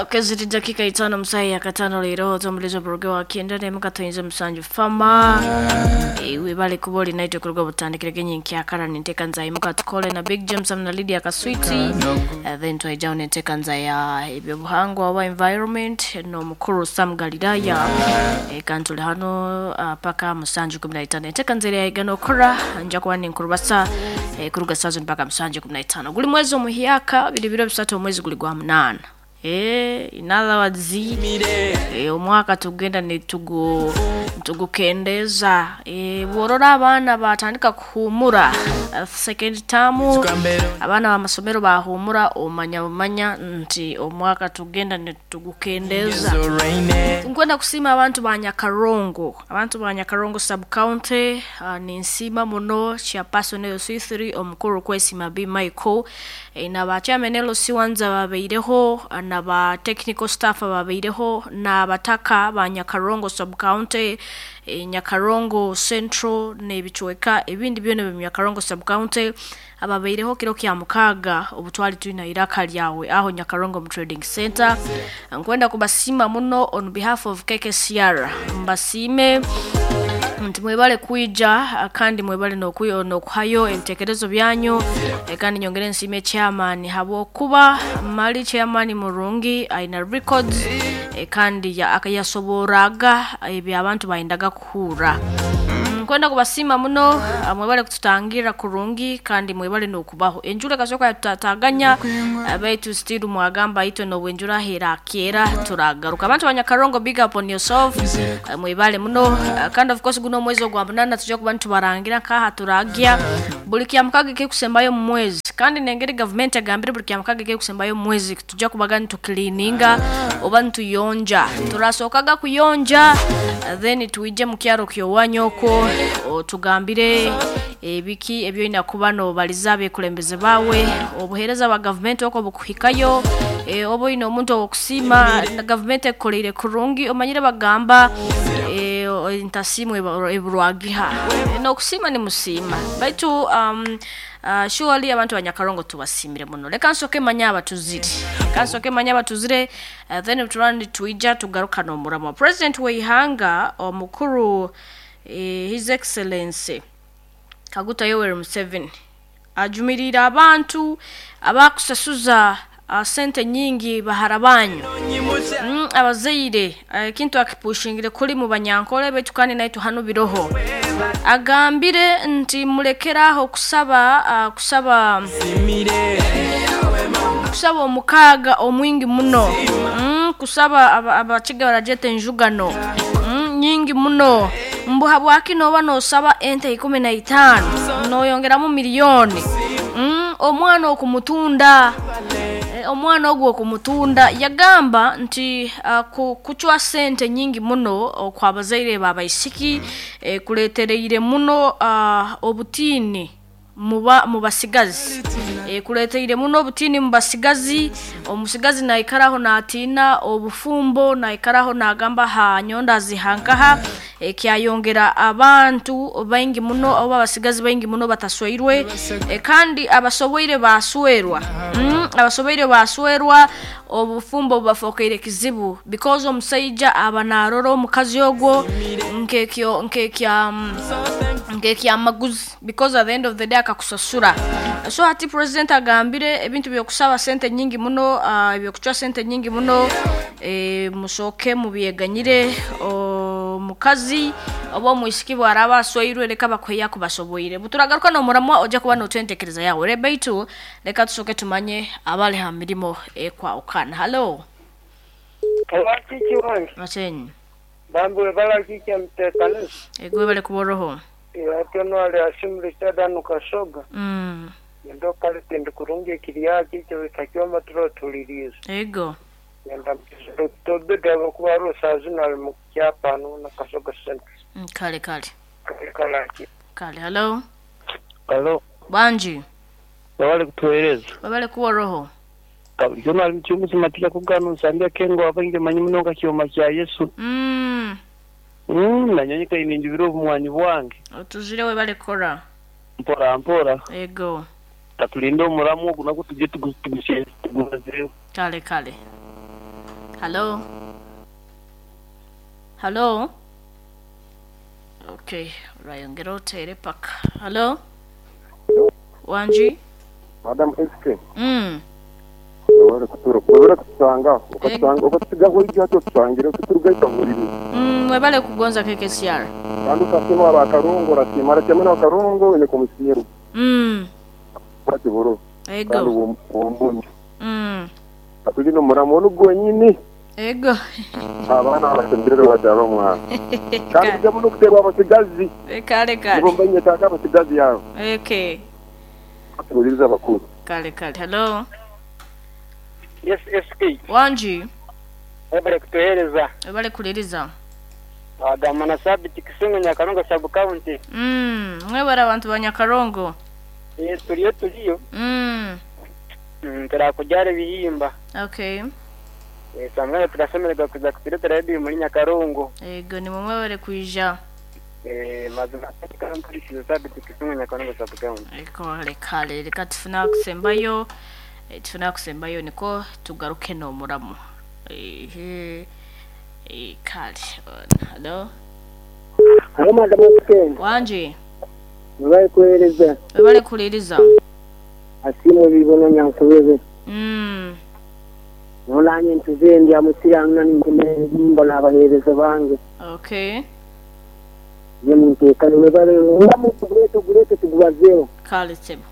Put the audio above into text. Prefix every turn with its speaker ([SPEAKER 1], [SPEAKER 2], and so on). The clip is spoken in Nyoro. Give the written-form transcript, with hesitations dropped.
[SPEAKER 1] Keziri dakika 5 musayi ya katano leero omulizo buruge wa kyenda nemu katoyinza musanju fama webale kuba oli naitwe kuruga butandikire genyi nkyakara ninteka nzaimuka tukole na Big James na Lydia Kaswiti. Then twaijaho nenteka nza ya ebyobuhangwa oba environment n'omukuru Sam Galilaya. Kandi tuli hano paka musanju 15 enteka nza eryaigana okora nja kuba ninkurubasa kuruga saa zino mpaka musanju 15 guli mwezi omuhyaka biri biro bisatu omwezi guli gwa 8. In other words, omwaka tugenda nitugukendeza. Bworora abaana batandika kuhumura second term, abaana b'amasomero bahumura, omanya bumanya nti omwaka tugenda nitugukendeza. Nkwenda kusiima abantu ba Nyakarongo, abantu ba Nyakarongo sub county. Ninsiima muno chairperson LC3 omukuru Kwesima B Michael, na ba chairman LC1 babaireho, na ba technical staff babaireho, na abataka ba Nyakarongo sub county, Nyakarongo Central n'ebicweka ebindi byona bya Nyakarongo sub county ababaireho kiro kya mukaga obutwali tulina iraka lyawe aho Nyakarongo mu trading center. Nkwenda kubasiima muno on behalf of KKCR, mbasiime nti mwebale kwija kandi mwebale n'okuhayo ebitekerezo byanyu. Kandi nyongere nsiime chairman habwokuba mali chairman murungi aina records, kandi yasoboraga ebyo abantu bayendaga kuhura. Nkwenda kubasiima muno, mwebale kututangira kurungi kandi mwebale n'okubaho enjura kasoka yatutataganya baitu still mwagamba itwe n'obwenjura hera kera turagaruka. Abantu ba Nyakarongo, big up on yourself, mwebale muno. Kandi of course guno omwezi ogwa 8 tujja kuba nitubarangira nkaha turagya buli kyamukaga kekusembayo mu mwezi, kandi nengeri government agambire buli kyamukaga kekusembayo mu mwezi tujja kubaga nitukilininga oba nituyonja. Turasokaga kuyonja then tuije mu kyaro kyowanyoko otugambire ebiki ebyoina kuba nobaliza abekulembeze bawe obuhereza ba government oko bukuhikayo, oba oyina omuntu owokusiima na government ekoleire kurungi omanyire bagamba ntasiimwe eburwagiha n'okusiima nimusiima baitu surely abantu ba Nyakarongo tubasiimire muno. Leka nsooke manye abatuzire, leka nsooke manye abatuzire, then turani nitwija tugaruka n'omuramwa. President w'eihanga omukuru His Excellency Kaguta Yoweri Museveni ajumirire abantu abakusasuza sente nyingi bahara banyu, abazaire ekintu akipushingire kuri mu banyankole baitu kandi naitu hano biroho. Agambire nti mulekeraho kusaba kusaba kusaba omukaga omwingi muno, kusaba abakiga barajeta enjugano nyingi muno. Mbu habwaki noba nosaba ente 15 noyongeramu miliyoni, omwana okumutunda, omwana ogwo okumutunda. Yagamba nti kucwa sente nyingi muno okwabazaire babaisiki kuletereire muno obutiini mu basigazi, kuleteire muno obutiini mu basigazi. Omusigazi naikaraho natiina obufumbo, naikaraho nagamba ha nyonda zihankaha, kyayongera abantu baingi muno oba abasigazi baingi muno batasweirwe, kandi abasoboire baswerwa, abasoboire baswerwa obufumbo bubafokeire kizibu because omusaija aba narora omukazi ogwo nkekyo nkekya nkekyamaguzi because at the end of the day akakusasura. So hati president agambire ebintu byokusaba sente nyingi muno, ebyokucwa sente nyingi muno, musooke mubyeganyire. Omukazi oba omwisiki bwaraba asweirwe leka bakuheya kubasoboire. Buturagaruka n'omuramwa ojja kuba notwentekereza yawe re baitu leka tusooke tumanye abali ha mirimo ekwawukana. Hello.
[SPEAKER 2] Kiki wange?
[SPEAKER 1] Machenyi.
[SPEAKER 2] Bambu bala kiki mtekanisa.
[SPEAKER 1] Egwe bale kuboroho.
[SPEAKER 2] Ate ali asimu sadanu kasoga. Ndo kale tindikurungi ekiriya kiki kakyoma turo tuliriza.
[SPEAKER 1] Ego.
[SPEAKER 2] Yenda tobeda kuba rusa zina mu kyapa na Kasoga Center.
[SPEAKER 1] Kale kale.
[SPEAKER 2] Kale kale.
[SPEAKER 1] Kale hello.
[SPEAKER 2] Hello.
[SPEAKER 1] Banji.
[SPEAKER 2] Bale kutueleza.
[SPEAKER 1] Bale kuboroho.
[SPEAKER 2] Yona ali mchumuzi matika kugano sambia kengo abange manyi munonga kyoma kya Yesu. Nanyonyeka ininjibiro obumwanyi bwange.
[SPEAKER 1] Otuzire we bale kora.
[SPEAKER 2] Mpora mpora.
[SPEAKER 1] Ego.
[SPEAKER 2] Tatulinde omuramu ogu nako tujye tugusiye tugumazeyo.
[SPEAKER 1] Kale kale. Halo. Halo. Okay, urayongera utere paka. Halo. Wanji.
[SPEAKER 3] Madam SK. Webale kutura webale kutusanga ukatusanga ukatusigaho ibyo tusangira kuturugaita buriri.
[SPEAKER 1] Webale kugonza KKCR.
[SPEAKER 3] Kandi ukasema abakarungo rasimara cyane abakarungo ine kumusiru. Ati boro.
[SPEAKER 1] Ego.
[SPEAKER 3] Kandi uwo. Atuli no muramo n'ugonyine.
[SPEAKER 1] Ego.
[SPEAKER 3] Abana abasembere bajaba mwana. Kandi jamu no kuterwa abasigazi.
[SPEAKER 1] Kale kale.
[SPEAKER 3] Ngomba nyetaka abasigazi yawe.
[SPEAKER 1] Okay.
[SPEAKER 3] Atuliriza abakuru.
[SPEAKER 1] Kale kale. Hello.
[SPEAKER 2] Yes, SK.
[SPEAKER 1] Wanji.
[SPEAKER 2] Webale kutuhereza.
[SPEAKER 1] Webale kuliriza.
[SPEAKER 2] Agamba na Sabiti Kisungu Nyakarongo sub county.
[SPEAKER 1] Mwebale abantu ba Nyakarongo.
[SPEAKER 2] Turiyo turiyo. Turakujara ibihimba.
[SPEAKER 1] Okay.
[SPEAKER 2] Samwe turasemererwa kuza kuturetera radio muri Nyakarongo.
[SPEAKER 1] Ego ni mwebale kuija.
[SPEAKER 2] Mazima Nyakarongo Sabiti Kisungu Nyakarongo sub county.
[SPEAKER 1] Ego kale reka tufuna kusembayo. Tufuna kusembayo niko tugaruke no muramu. Kale. Hello.
[SPEAKER 2] Halo madam SK.
[SPEAKER 1] Wanji.
[SPEAKER 2] Webale kuhereza.
[SPEAKER 1] Webale kuliriza.
[SPEAKER 2] Asimu bibona nyankubebe. Nolanye ntuzendi amusiranga n'imbo n'abahereza bange.
[SPEAKER 1] Okay.
[SPEAKER 2] Ye muntekane webale ngamu tugurete tugurete tugubazeho.
[SPEAKER 1] Kale sebo.